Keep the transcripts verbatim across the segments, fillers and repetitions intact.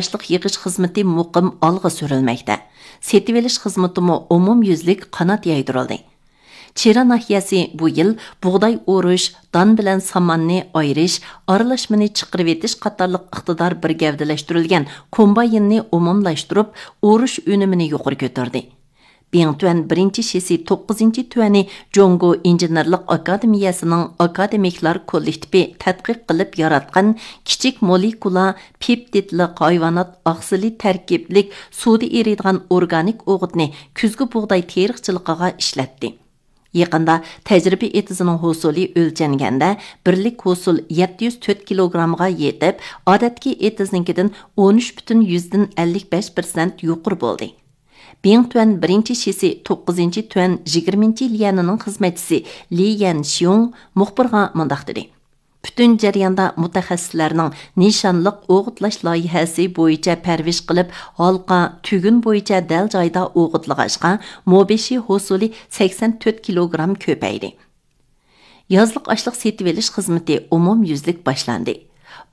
ئاشلىق يىغىش خىزمىتى مۇقىم ئالغا سۈرۈلمەكتە. سېتىۋېلىش خىزمىتىمۇ ئومۇميۈزلۈك قانات يايدۇرۇلدى. چىرا ناھىيەسى بۇ يىل بۇغداي ئورۇش، دان بىلەن ساماننى ئايرىش، ئارىلاشمىنى چىقىرىۋېتىش قاتارلىق ئىقتىدار بىر گەۋدىلەشتۈرۈلگەن كومبايننى ئومۇملاشتۇرۇپ، ئورۇش ئۈنۈمىنى يۇقىرى كۆتۈردى. بىڭتۈەن بىرىنچى شىسى توققۇزىنچى تۈەنى جۇڭگو ئىنژېنېرلىق ئاكادېمىيەسىنىڭ ئاكادېمىكلار كوللېكتىپى تەتقىق قىلىپ ياراتقان كىچىك مولېكۇلا پېپتىدلىق ھايۋانات ئاقسىلى تەركىبلىك سۇدا ئېرىيدىغان ئورگانىك ئوغۇتنى كۈزگى بۇغداي تېرىقچىلىقىغا ئىشلەتتى. يېقىندا تەجرىبە ئېتىزىنىڭ ھوسۇلى ئۆلچەنگەندە، بىرلىك ھوسۇل يەتتە يۈز تۆت كىلوگرامغا يېتىپ، ئادەتتىكى ئېتىزنىڭكىدىن ئون ئۈچ پۈتۈن يۈزدىن ئەللىك بەش پىرسەنت يۇقىرى بولدى. بىڭتۈەن بىرىنچى شىسى توققۇزىنچى تۈەن يىگىرمىنچى ليەنىنىڭ خىزمەتچىسى لى يەنشيۇڭ مۇخبىرغا مۇنداق دېدى: پۈتۈن جەرياندا مۇتەخەسسىسلەرنىڭ نىشانلىق ئوغۇتلاش لايىھەسى بويىچە پەرۋىش قىلىپ، ھالقا، تۈگۈن بويىچە دەل جايدا ئوغۇتلىغاچقا، مو بېشى ھوسۇلى سەكسەن تۆت كىلوگرام كۆپەيدى. يازلىق ئاشلىق سېتىۋېلىش خىزمىتى ئومۇميۈزلۈك باشلاندى.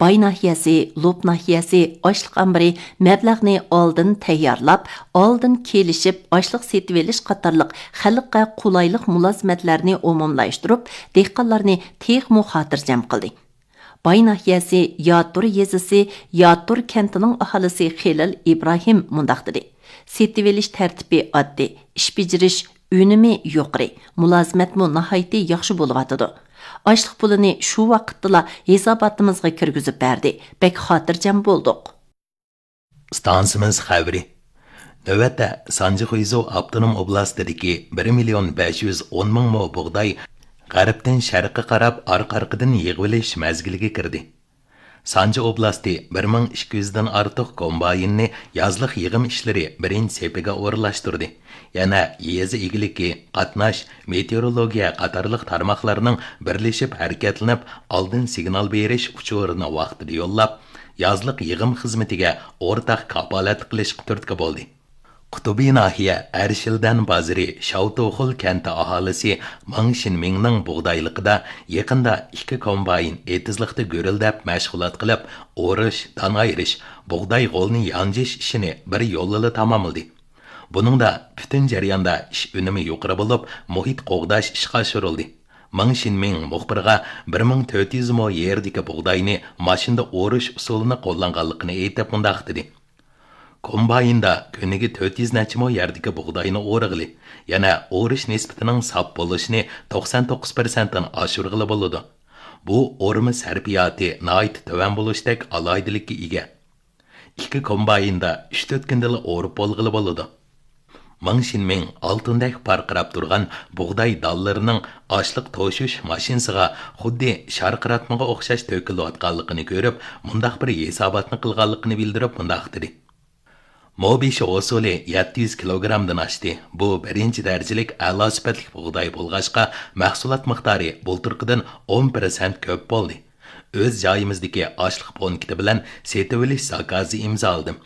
باي ناھىيەسى، لوپ ناھىيەسى ئاشلىق ئامبىرى مەبلەغنى ئالدىن تەييارلاپ، ئالدىن كېلىشىپ ئاشلىق سېتىۋېلىش قاتارلىق خەلققە قولايلىق مۇلازىمەتلەرنى ئومۇملاشتۇرۇپ، دېھقانلارنى تېخىمۇ خاتىرجەم قىلدى. باي ناھىيەسى ياتۇر يېزىسى ياتۇر كەنتىنىڭ ئاھالىسى خېلىل ئىبراھىم مۇنداق دېدى: سېتىۋېلىش تەرتىپى ئاددىي، ئىش بېجىرىش ئۈنۈمى يۇقىرى، مۇلازىمەتمۇ ناھايىتى ياخشى بولۇۋاتىدۇ. ئاشلىق پۇلىنى شۇ ۋاقىتتىلا ھېساباتىمىزغا كىرگۈزۈپ بەردى، بەك خاتىرجەم بولدۇق. ئىستانسىمىز خەۋىرى. نۆۋەتتە سانجى خۇيزۇ ئاپتونوم ئوبلاستىدىكى بىر مىليون بەش يۈز ئون مىڭ مو بۇغداي غەربتىن شەرققە قاراپ ئارقا-ئارقىدىن يىغىۋېلىش مەزگىلىگە كىردى. سانجى ئوبلاستى بىر مىڭ ئىككى يۈزدىن ئارتۇق كومبايننى يازلىق يىغىم ئىشلىرى بىرىنچى سېپىگە ئورۇنلاشتۇردى. يەنە يېزا ئىگىلىكى، قاتناش، مېتېئورولوگىيە قاتارلىق تارماقلارنىڭ بىرلىشىپ ھەرىكەتلىنىپ، ئالدىن سىگنال بېرىش ئۇچۇرىنى ۋاقتىدا يوللاپ، يازلىق يىغىم خىزمىتىگە ئورتاق كاپالەتلىك قىلىشقا تۈرتكە بولدى. قۇتۇبى ناھىيە ئەرشىلدەن بازىرى شاۋتۇخۇل كەنتى ئاھالىسى ماڭ شىنمىڭنىڭ بۇغدايلىقىدا يېقىندا ئىككى كومباين ئېتىزلىقتا گۈرۈلدەپ مەشغۇلات قىلىپ، ئورۇش، دان ئايرىش، بۇغداي غولىنى يانجىش ئىشىنى بىر يولىلا تاماملىدى. بۇنىڭدا پۈتۈن جەرياندا ئىش ئۈنۈمى يۇقىرى بولۇپ، مۇھىت قوغداش ئىشقا ئاشۇرۇلدى. ماڭ شىنمىڭ مۇخبىرغا بىر مىڭ تۆت يۈز مو يېرىدىكى بۇغداينى ماشىنىدا ئورۇش ئۇسۇلىنى قوللانغانلىقىنى ئېيتىپ، مۇنداق دېدى: كومبايندا كۈنىگە تۆت يۈز نەچچە مو يەردىكى بۇغداينى ئورىغىلى، يەنە ئورۇش نىسبىتىنىڭ ساپ بولۇشىنى توقسان توققۇز پىرسەنتتىن ئاشۇرغىلى بولىدۇ. بۇ ئورما سەرپىياتى ناھايىتى تۆۋەن بولۇشتەك ئالاھىدىلىككە ئىگە. ئىككى كومبايندا ئۈچ تۆت كۈندىلا ئورۇپ بولغىلى بولىدۇ. ماڭ شىنمىڭ ئالتۇندەك پارقىراپ تۇرغان بۇغداي دانلىرىنىڭ ئاشلىق توشۇش ماشىنىسىغا خۇددى شارقىراتمىغا ئوخشاش تۆكۈلۈۋاتقانلىقىنى كۆرۈپ، مۇنداق بىر ھېساباتنى قىلغانلىقىنى بىلدۈرۈپ، مۇنداق دېدى: مو بېشى ھوسۇلى يەتتە يۈز كىلوگرامدىن ئاشتى. بۇ بىرىنچى دەرىجىلىك ئەلا سۈپەتلىك بۇغداي بولغاچقا، مەھسۇلات مىقدارى بۇلتۇرقىدىن ئون پىرسەنت كۆپ بولدى. ئۆز جايىمىزدىكى ئاشلىق پونكىتى بىلەن سېتىۋېلىش زاكازى ئىمزالىدىم.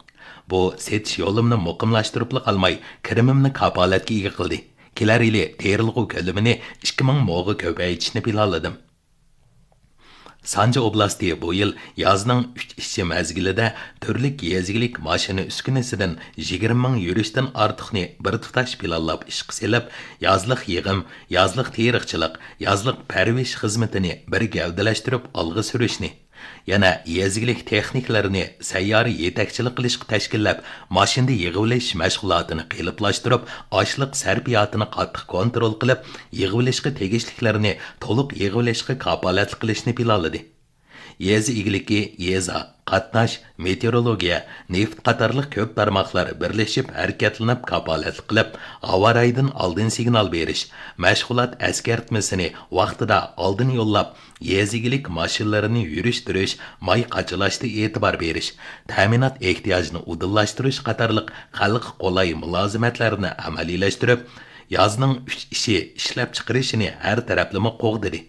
بۇ سېتىش يولۇمنى مۇقىملاشتۇرۇپلا قالماي، كىرىمىمنى كاپالەتكە ئىگە قىلدى. كېلەر يىلى تېرىلغۇ كۆلىمىنى ئىككى مىڭ موغا كۆپەيتىشنى پىلانلىدىم. سانجى ئوبلاستى بۇ يىل يازنىڭ ئۈچ ئىشچى مەزگىلىدە تۈرلۈك يېزا ئىگىلىك ماشىنا ئۈسكۈنىسىدىن يىگىرمە مىڭ يۈرۈشتىن ئارتۇقنى بىر تۇتاش پىلانلاپ ئىشقا سېلىپ، يازلىق يىغىم، يازلىق تېرىقچىلىق، يازلىق پەرۋىش خىزمىتىنى بىر گەۋدىلەشتۈرۈپ ئالغا سۈرۈشنى، يەنە يېزا ئىگىلىك تېخنىكلىرىنى سەييارە يېتەكچىلىك قىلىشقا تەشكىللەپ، ماشىنىدا يىغىۋېلىش مەشغۇلاتىنى قېلىپلاشتۇرۇپ، ئاشلىق سەرپىياتىنى قاتتىق كونترول قىلىپ، يىغىۋېلىشقا تېگىشلىكلىرىنى تولۇق يىغىۋېلىشقا كاپالەتلىك قىلىشنى پىلانلىدى. يېزا ئىگىلىكى، يېزا، قاتناش، مېتېئورولوگىيە، نېفىت قاتارلىق كۆپ تارماقلار بىرلىشىپ ھەرىكەتلىنىپ كاپالەتلىك قىلىپ، ھاۋا رايىدىن ئالدىن سىگنال بېرىش، مەشغۇلات ئەسكەرتمىسىنى ۋاقتىدا ئالدىن يوللاپ، يېزا ئىگىلىك ماشىنىلىرىنى يۈرۈشتۈرۈش، ماي قاچىلاشتا ئېتىبار بېرىش، تەمىنات ئېھتىياجىنى ئۇدۇللاشتۇرۇش قاتارلىق خەلققە قولاي مۇلازىمەتلەرنى ئەمەلىيلەشتۈرۈپ، يازنىڭ ئۈچ ئىشى ئىشلەپچىقىرىشىنى ھەر تەرەپلىمە قوغدىدى.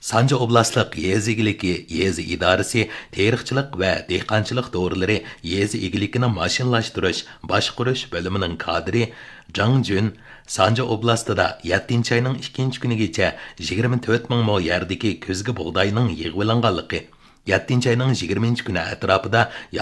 سانجى ئوبلاستلىق يېزا ئىگىلىكى يېزا ئىدارىسى تېرىقچىلىق ۋە دېھقانچىلىق دورىلىرى يېزا ئىگىلىكىنى ماشىنىلاشتۇرۇش باشقۇرۇش بۆلۈمىنىڭ كادىرى جاڭ جۈن سانجى ئوبلاستىدا يەتتىنچى ئاينىڭ ئىككىنچى كۈنىگىچە يىگىرمە تۆت مىڭ مو يەردىكى كۈزگى بۇغداينىڭ يىغىۋېلىنغانلىقى، يەتتىنچى ئاينىڭ يىگىرمىنچى كۈنى ئەتراپىدا